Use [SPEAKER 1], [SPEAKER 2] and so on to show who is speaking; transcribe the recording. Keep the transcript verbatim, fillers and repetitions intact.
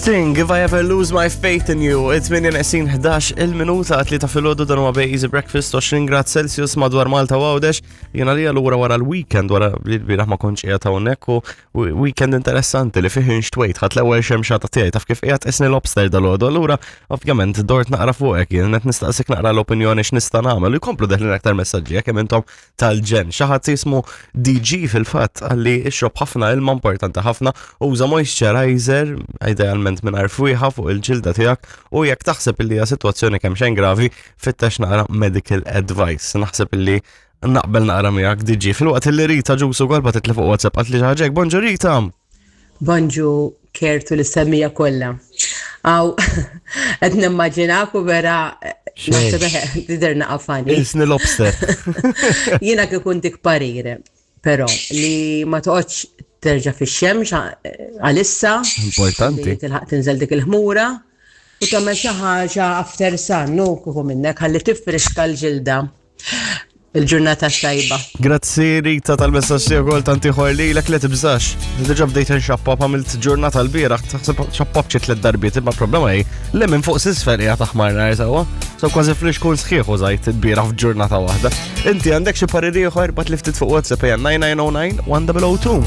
[SPEAKER 1] Sting, "If I Ever Lose My Faith in You". It-tmienja neqsin ħdax il-minuta, tlieta filgħodu, dan huwa Easy Breakfast, għoxrin grad Celsius madwar Malta u Għawdex. Jena li allura wara l-weekend, wara li l-bieraħ ma kontx qiegħed hawnhekk u weekend interessanti li fih inxtwejt, ħadt l-ewwel xemxata tiegħi, taf kif qiegħed qisni lobster dalgħodu. Allura ovvjament dort naqra fuqek, jien qed nistaqsik naqra l-opinjoni x'nista' nagħmel u jkomplu deħlin aktar messaġġi jekk hemm intom tal-ġen. Xi ħadd jismu D G fil-fatt għalli ixrob ħafna ilma, importanti ħafna, uża moisturizer, idealment mingħajr fwieħa, fuq il-ġilda tiegħek u jekk taħseb illi hija sitwazzjoni kemm xejn gravi, fittex naqra medical advice. Naħseb illi naqbel naqra miegħek, D G. Filwaqt illi Rita Ġusu golba titli fuq WhatsApp għat li ħaġek. Bonġu, Rita.
[SPEAKER 2] Bonġu, Kertu l-semmija kollha. Aw, qed nimmaġinak u vera naħseb tidher naqafani.
[SPEAKER 1] Qisni lobster.
[SPEAKER 2] Jiena kieku ntik parir, però li ma toqgħodx terġa' fix-xemx għalissa.
[SPEAKER 1] Importanti.
[SPEAKER 2] Li tilħaq tinżel dik il-ħmura u tagħmel xi ħaġa after sun, nu kieku minnek ħalli tifriska l-ġilda. Il-ġurnata tajba.
[SPEAKER 1] Grazzi, Rita, tal-messaġġ tiegħek ukoll, tant ieħor lilek. Li tibżax. Diġà bdejt nxappap, għamilt ġurnata l-bieraħ, taħseb xappap xi tliet darbiet, imma problema hi li minn fuq s'isfel hija taħmar nar sewwa. So kważi flixkun sħiħ użajt il-bieraħ f'ġurnata waħda. Inti għandek xi pariri ieħor, ibgħatli ftit fuq WhatsApp, hija nine nine zero nine one zero zero two.